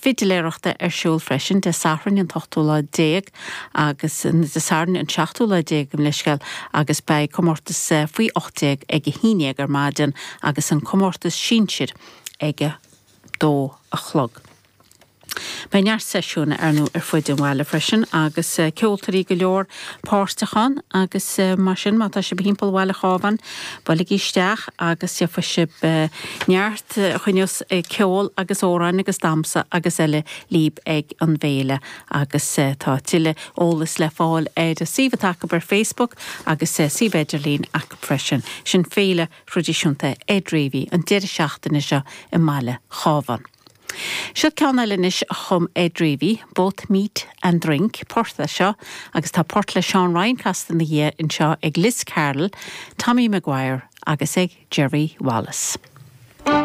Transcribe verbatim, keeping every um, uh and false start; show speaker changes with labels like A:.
A: fidiléireachta ar siúl freisin Dé Sathairn an t-ochtú lá déag agus Dé Sathairn an seachtú lá déag gabh mo leithscéal agus beidh comórtas faoi ocht déag ag a haon déag ar maidin agus an comórtas sinsir ag a dó a chlog. Beidh neart seisiún ar ndóigh ar fud an bhaile freisin agus eh, ceoltóirí go leor páirteach ann agus eh, mar sin má tá sibh thimpeall Bhaile Chábháin buailigí isteach agus gheobhaidh sibh eh, neart chuineos ceol agus amhráin agus damhsa agus eile libh ag an bhféile agus tá tuilleadh eolas le fáil ar a suíomh atá acu ar Facebook agus suíomh idirlín acu freisin sin féile thraidisiúnta Ed Reavy an deireadh seachtaine seo i mBaile Chábháin. Seo ceann eile anois a chum Ed Reavy, both meat and drink, port é seo, agus tá port le Seán Ryan casta ina dhiaidh anseo ag Liz Carroll, Tommy Maguire agus ag Jerry Wallace.